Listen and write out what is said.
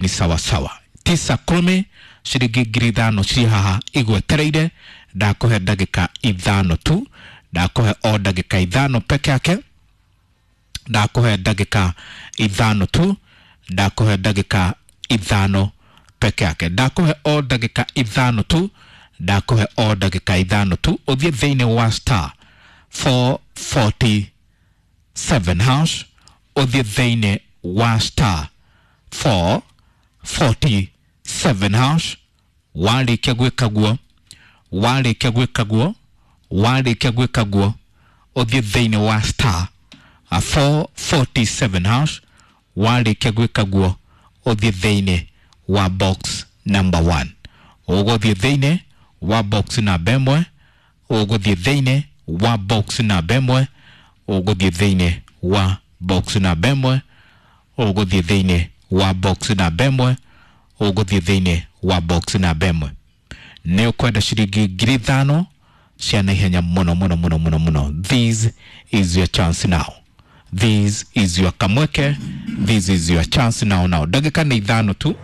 Ni sawasawa, 9:10, ciringi 5,000 cirĩ haha igwetereire. Ndakũhe ndagĩka 5 tu, ndakũhe o ndagĩka 5 peke yake, ndakũhe ndagĩka 5 tu, ndakũhe ndagĩka 5 peke yake, ndakũhe o ndagĩka 5 tu, ndakũhe o ndagĩka 5 tu. Ũthiĩ thĩinĩ wa star 447 hash, ũthiĩ thĩinĩ wa star 447 hash. Warĩkia gwĩka guo, warĩkia gwĩka guo, warĩkia gwĩka guo, ũthiĩ thĩinĩ wa star 447 hash. Warĩkia gwĩka guo, ũthiĩ thĩinĩ wa box number 1, ũgũthiĩ thĩinĩ wa box namba 1, ũgũthiĩ thĩinĩ wa box namba 1, ũgũthiĩ thĩinĩ wa box namba 1, ũgũthiĩ thĩinĩ wa box namba 1, ũgũthiĩ thĩinĩ wa box namba 1. Nĩ ũkwenda ciringi 5,000 cia naihenya mũno mũno mũno mũno mũno. This is your chance now, this is your kamweke, this is your chance now now. Ndagĩka nĩ 5 tu.